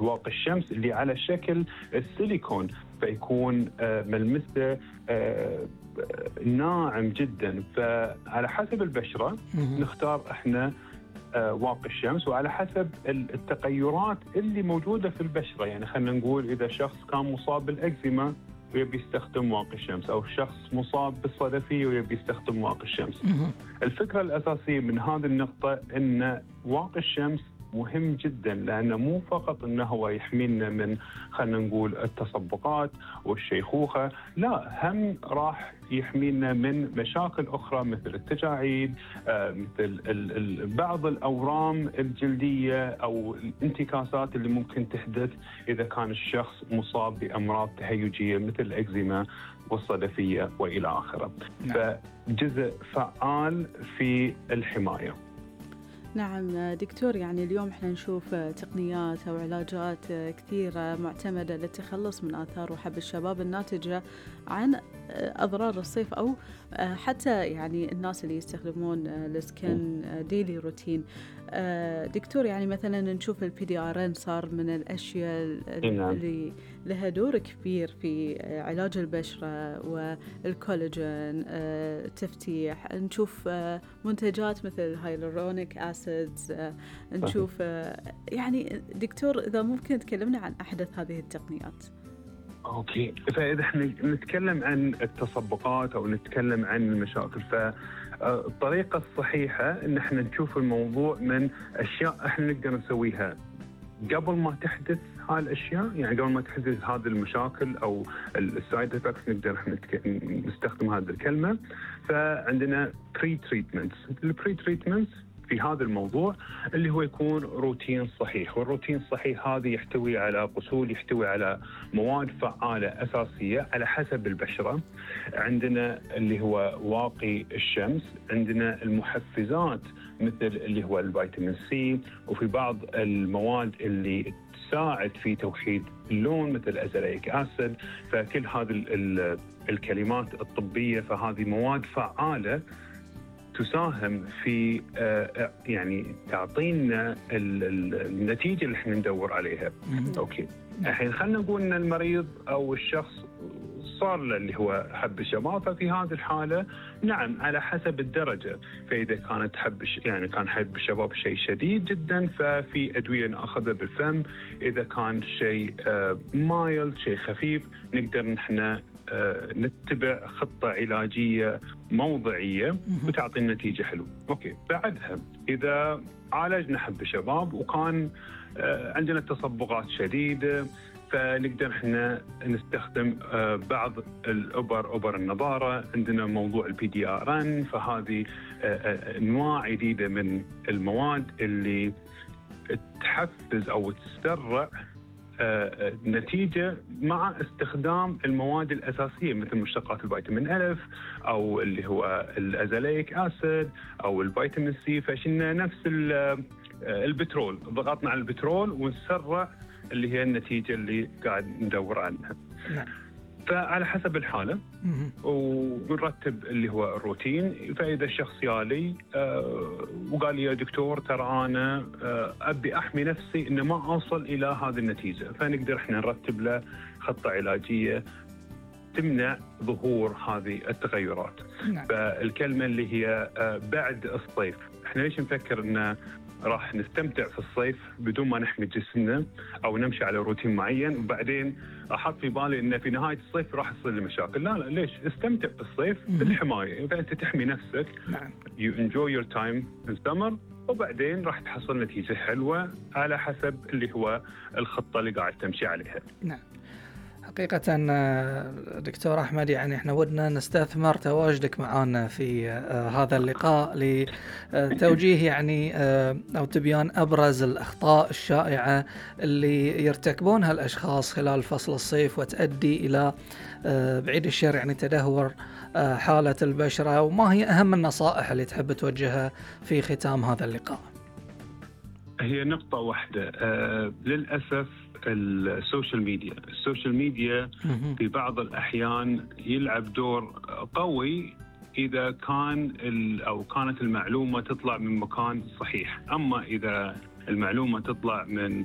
واقي الشمس اللي على شكل السيليكون، فيكون ملمسه ناعم جدا. فعلى حسب البشرة نختار احنا واقي الشمس، وعلى حسب التغيرات اللي موجودة في البشرة. يعني خلينا نقول إذا شخص كان مصاب بالإكزيما ويبي يستخدم واقي الشمس، أو شخص مصاب بالصدفية ويبي يستخدم واقي الشمس. الفكرة الأساسية من هذه النقطة أن واقي الشمس مهم جدا، لأنه مو فقط أنه هو يحمينا من خلينا نقول التصبغات والشيخوخة، لا، هم راح يحمينا من مشاكل أخرى مثل التجاعيد، مثل بعض الأورام الجلدية أو الانتكاسات اللي ممكن تحدث إذا كان الشخص مصاب بأمراض تهيجية مثل الإكزيما والصدفية وإلى آخره. فجزء فعال في الحماية. نعم دكتور، يعني اليوم احنا نشوف تقنيات أو علاجات كثيرة معتمدة للتخلص من آثار وحب الشباب الناتجة عن أضرار الصيف، أو حتى يعني الناس اللي يستخدمون السكين ديلي روتين. دكتور، يعني مثلا نشوف PDRN صار من الأشياء اللي لها دور كبير في علاج البشرة والكولاجين، التفتيح. نشوف منتجات مثل هايلورونيك أسيدز، نشوف يعني دكتور إذا ممكن تكلمنا عن أحدث هذه التقنيات. أوكي، فإذا احنا نتكلم عن التصبغات أو نتكلم عن المشاكل، فالطريقة الصحيحة إن احنا نشوف الموضوع من أشياء احنا نقدر نسويها قبل ما تحدث هاي الأشياء. يعني قبل ما تحدث هذه المشاكل أو السايد إفكتس نقدر احنا نستخدم هذه الكلمة. فعندنا بري تريتمنتس. البري تريتمنتس في هذا الموضوع اللي هو يكون روتين صحيح، والروتين الصحيح هذا يحتوي على غسول، يحتوي على مواد فعالة أساسية على حسب البشرة. عندنا اللي هو واقي الشمس، عندنا المحفزات مثل اللي هو الفيتامين سي، وفي بعض المواد اللي تساعد في توحيد اللون مثل أزاليك أسيد. فكل هذه الكلمات الطبية، فهذه مواد فعالة تساهم في يعني تعطينا النتيجة اللي احنا ندور عليها. اوكي، الحين خلينا نقول ان المريض او الشخص صار له اللي هو حب الشباب، ففي هذه الحالة نعم على حسب الدرجة. فإذا كانت يعني كان حب الشباب شيء شديد جدا، ففي أدوية نأخذها بالفم. إذا كان شيء مايل، شيء خفيف، نقدر نحن نتبع خطة علاجية موضعية وتعطي النتيجة حلوة. أوكي، بعدها إذا عالجنا حب الشباب وكان عندنا تصبغات شديدة، فنقدر احنا نستخدم بعض أبر النضارة. عندنا موضوع PDRN، فهذه أنواع جديدة من المواد اللي تحفز أو تسرع نتيجة مع استخدام المواد الأساسية مثل مشتقات الفيتامين ألف أو اللي هو الأزاليك أسيد أو الفيتامين سي. فشلنا نفس البترول، ضغطنا على البترول ونسرع اللي هي النتيجة اللي قاعد ندور عنها. فعلى حسب الحالة ونرتب اللي هو الروتين. فإذا الشخص يالي وقال لي يا دكتور ترى أنا أبي أحمي نفسي إن ما أوصل إلى هذه النتيجة، فنقدر إحنا نرتب له خطة علاجية تمنع ظهور هذه التغيرات. فالكلمة اللي هي بعد الصيف، إحنا ليش نفكر إن راح نستمتع في الصيف بدون ما نحمي جسمنا أو نمشي على روتين معين وبعدين أحط في بالي إن في نهاية الصيف راح تصير لي مشاكل؟ لا ليش؟ استمتع بالصيف بالحماية. فأنت تحمي نفسك. You enjoy your time in summer، وبعدين راح تحصل نتيجة حلوة على حسب اللي هو الخطة اللي قاعد تمشي عليها. نعم، حقيقة دكتور أحمد، يعني احنا ودنا نستثمر تواجدك معنا في هذا اللقاء لتوجيه يعني أو تبيان أبرز الأخطاء الشائعة اللي يرتكبونها الأشخاص خلال فصل الصيف وتؤدي إلى بعيد الشر يعني تدهور حالة البشرة، وما هي أهم النصائح اللي تحب توجهها في ختام هذا اللقاء؟ هي نقطة واحدة. للأسف السوشيال ميديا في بعض الأحيان يلعب دور قوي إذا كان أو كانت المعلومة تطلع من مكان صحيح. أما إذا المعلومة تطلع من